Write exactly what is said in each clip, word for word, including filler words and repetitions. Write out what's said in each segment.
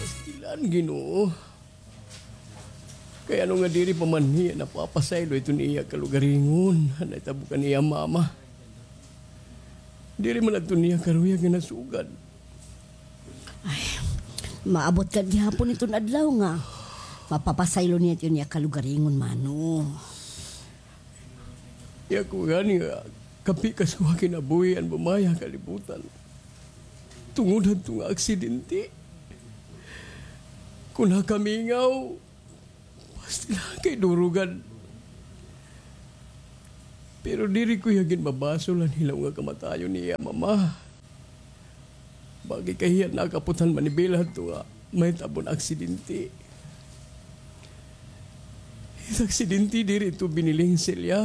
Pastilan, Ginoo. Kay ano nga diri pa man hiya napapasaylo iton iya kalugaringon, han nahitabo kan iya mama? Diri man adto niya karuyag nga nasugad. Ay, maabot ka gihapon iton adlaw nga mapapasaylo niya iton iya kalugaringon, mano. Iya ko gani nga kapi kasuha kinabuhi an bumaya kalibutan. Tungod hadto nga aksidente. Kon nakamingaw, pastilan kay durugan. Pero diri ko hiya gin mabasol han hilaw nga kamatayon niya, mama. Bangin kay hiya nakaputhan manibela hadto nga mahitabo an aksidente. It aksidente diri ito biniling, Celia.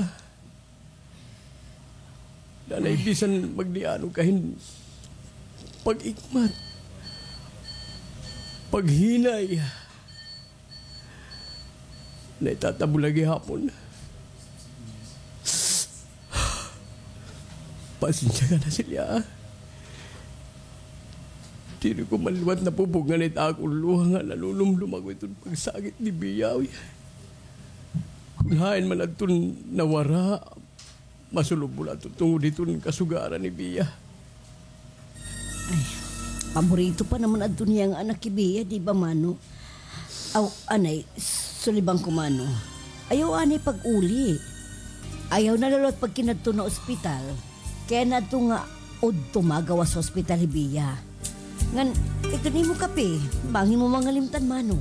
Nanay, bisan magdiano ka hin pag-ikmat, paghinay, naitatabo la gihapon. Pasensya ka na, Celia, ha? Diri ko man liwat napupugngan it akon luha nga nanunumdom ako iton pagsakit ni Bia, uy. Kon hain man adton nawara, masulob mo la ito tungod hiton kasugaran ni Bia. Ay, paborito pa naman adto niya nga anak hi Bia, di ba, mano? Aw, anay, suliban ko, mano. Ayaw anay pag-uli. Ayaw na la liwat pagkinadto na ospital. Kay adto nga udto magawas ha ospital hi Bia. Ngan, iton imo kape, bangin mo mangalimtan, mano.